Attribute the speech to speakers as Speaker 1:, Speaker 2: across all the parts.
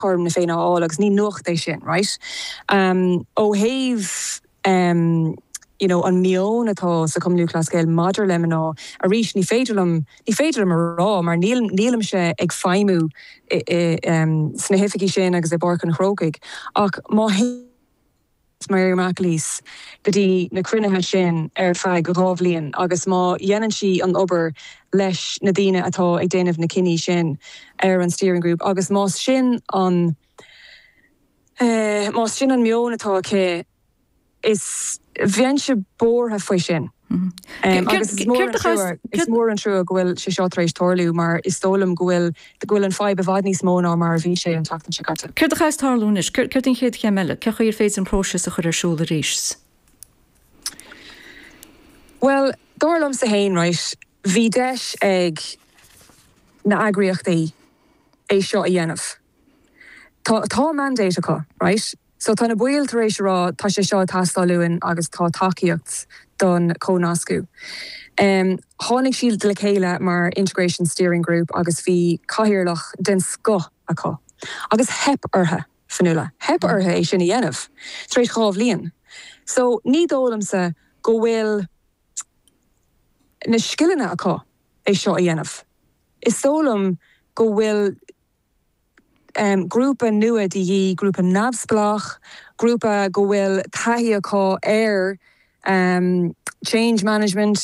Speaker 1: Cothrom na Féinne a fháil agus ní nuacht é sin, right? Ó thaobh you know an meon atá sa Chumann Lúthchleas Gael maidir le mná, arís ní féidir liom, ní féidir liom a rá mar níl, nílimse ag feidhmiú i, i, sna hoifigí sin agus i bPáirc an Chrócaigh ach má théann Mary McAleese go dtí na cruinnithe sin ar feadh 2 bhliain agus má dhéanann sí an obair leis na daoine atá ag déanamh na cinní sin ar an steering group agus más sin an más sin an meon atá aici is bheinnse buartha faoi sin. Agus is mór an trua, is mór an trua go bhfuil sé seo tar éis tarlú mar is dóigh liom go bhfuil, go bhfuil an fadhb i bhfad níos mó ná mar a bhí sé an tseachtain seo caite.
Speaker 2: Céard a chaithfeas tarlú anois? Céard an chéad chéim eile? Cén chaoi ar féidir an próiseas a chur ar siúl arís?
Speaker 1: Bhuel, dar liomsa fhéin, right, bhí deis ag na eagraíochtaí é seo a dhéanamh. Tá, tá mandate acu, right? So tá na baill tar éis a rá tá sé seo ag teastáil uainn agus tá tacaíocht don chónascadh. Tháinig siad le chéile mar Integration Steering Group agus bhí cathaoirleach den scoth acu agus theip orthu, Fionnuala, theip orthu é sin a dhéanamh tar éis 2 bhliain. So ní dóigh liomsa go bhfuil na scileanna acu é seo a dhéanamh. Is dóigh liom go bhfuil grúpa nua de dhíth, grúpa neamhspleách, grúpa go bhfuil taithí acu ar change management,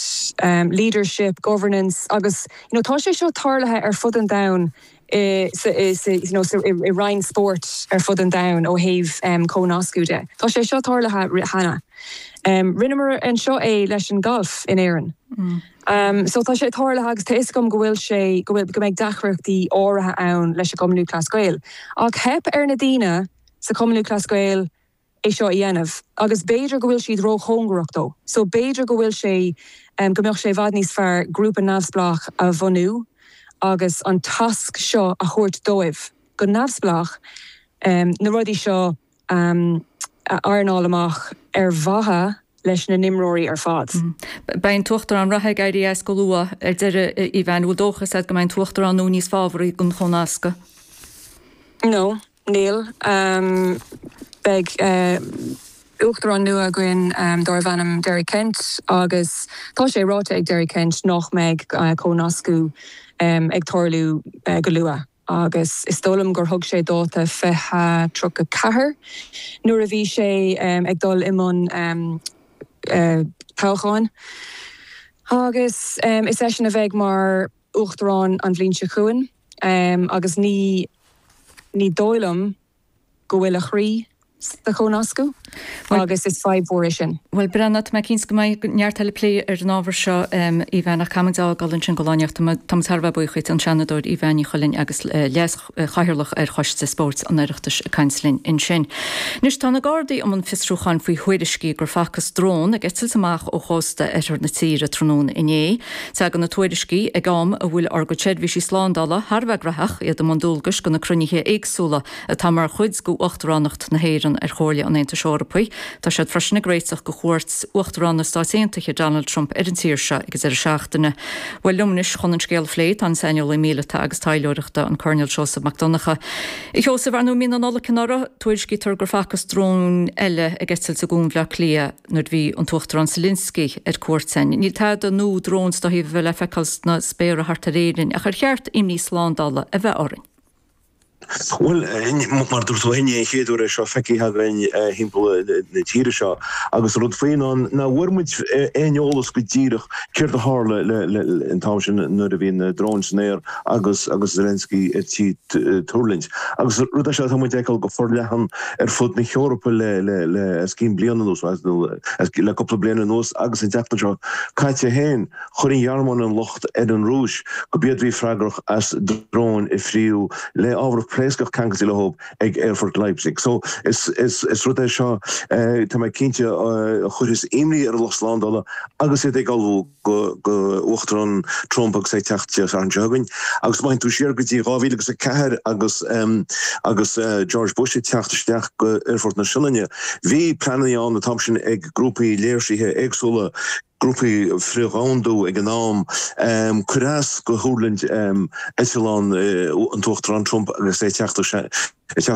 Speaker 1: leadership, governance agus you know tá sé seo tarlaithe ar fud an domhain i you know i roinn spóirt ar fud an domhain ó thaobh cónascadh de. Tá sé seo tarlaithe cheana. Rinneamar anseo é leis an galf in Éirinn. So tá sé tarlaithe agus tá fhios agam go bhfuil sé, go bhfuil, go mbeidh deacrachtaí áirithe ann leis an gCumann Lúthchleas Gael. Ach theip ar na daoine sa Chumann Lúthchleas Gael é seo a dhéanamh agus b'fhéidir go bhfuil siad róchóngarach dó. So b'fhéidir go bhfuil sé, go mbeadh sé i bhfad níos fearr grúpa neamhspleách a bhunú agus an tasc seo a thabhairt dóibh go neamhspleách, na rudaí seo a ironáil amach ar mhaithe leis na n-imreoirí ar fad.
Speaker 2: Beidh an tUachtarán reatha ag éirí as go luath ar deireadh, a Aoibheann. An bhfuil dóchas agat go mbeidh an tUachtarán nua níos fábharaí don chónascadh?
Speaker 1: No, níl. Beidh Uachtarán nua againn darbh ainm Derek Kent agus tá sé ráite ag Derek Kent nach mbeidh cónascadh ag tarlú go luath. agus is dóigh liom gur thug sé dáta 2034 nuair a bhí sé ag dul i mbun toghcháin. Agus is eisean a bheidh mar Uachtarán an bhliain seo chugainn agus ní ní dóigh liom go bhfuil a chroí sa chónascadh agus is fadhb mhór é sin.
Speaker 2: Bhuel, breathnaigh, tá mé cinnte go mbeidh neart eile plé ar an ábhar seo, Aoibheann, ach caithfidh muid a fhágáil ansin go lá anocht. Tá muid thar a bheith buíoch dhuit, an Seanadóir Aoibheann Ní Chuilinn agus Leas-Chathaoirleach ar Choiste Spóirt an Oireachtais ag caint linn ansin. Anois, tá na Gardaí i mbun fiosrúcháin faoi thuairiscí gur facthas drón ag eitilt amach ó chósta oirthear na tíre tráthnóna inné. Tagann na tuairiscí ag am a bhfuil ár gcuid seirbhísí slándála thar a bheith graitheach, iad i mbun dualgais do na cruinnithe éagsúla atá mar chuid d'Uachtaránacht na hÉireann ar Chomhairle an Aontais Eorpaigh. Tá siad freisin ag réiteach do chuairt Uachtarán na Stáit Aontaithe Donald Trump ar an tír seo ag an deireadh seachtaine. Bhuel, liom anois chun an scéal a phlé tá an saineolaí míleata agus taidhleoireachta, an Coirnéal Seosamh Mac Donncha. A Sheosaimh, ar ndóigh, mí na Nollag anuraidh, tuairiscítear gur facthas drón eile ag eitilt i gCuan Bhaile Átha Cliath. nuair a bhí an tUachtarán Zelensky ar cuairt ann. Níl tada nua dróin is dá thaobh a bheith le feiceáil sna spéartha thart ar Éirinn, ach ar cheart imní slándála a bheith orainn?
Speaker 3: Bhuel, mar a dúirt tú féin, ní an chéad uair é seo feicthe againn thimpeall na tíre seo. Agus an rud faoi ná nach bhfuair muid aon eolas go díreach céard a tharla an t-am sin nuair a bhí na dróin san aer agus agus Zelensky ar tí tuirlingt. Agus rud é seo atá muid a fheiceáil go forleathan ar fud na hEorpa le le os cionn bliain anuas, nó le cúpla bliain anuas agus an tseachtain seo caite féin, chuir an Ghearmáin an locht ar an Rúis gurb iad a bhí freagrach as dróin a fríothadh le ábhar pléascach ceangailte leo ag aerfort Leipzig. So is is rud é seo, tá mé cinnte, a chuirfeas imní ar an lucht slándála agus iad ag ullmhú. go Uachtarán Trump agus é ag teacht Dé Sathairn seo chugainn. Agus má théann tú siar go dtí 2004 agus agus George Bush ag teacht isteach go Aerfort na Sionainne, bhí pleananna ann an t-am sin ag grúpaí léirsithe éagsúla. Grúpaí frith-dhomhandú ag an am. Cuireadh as do thuirlingt eitleán an tUachtarán Trump agus é ag teacht.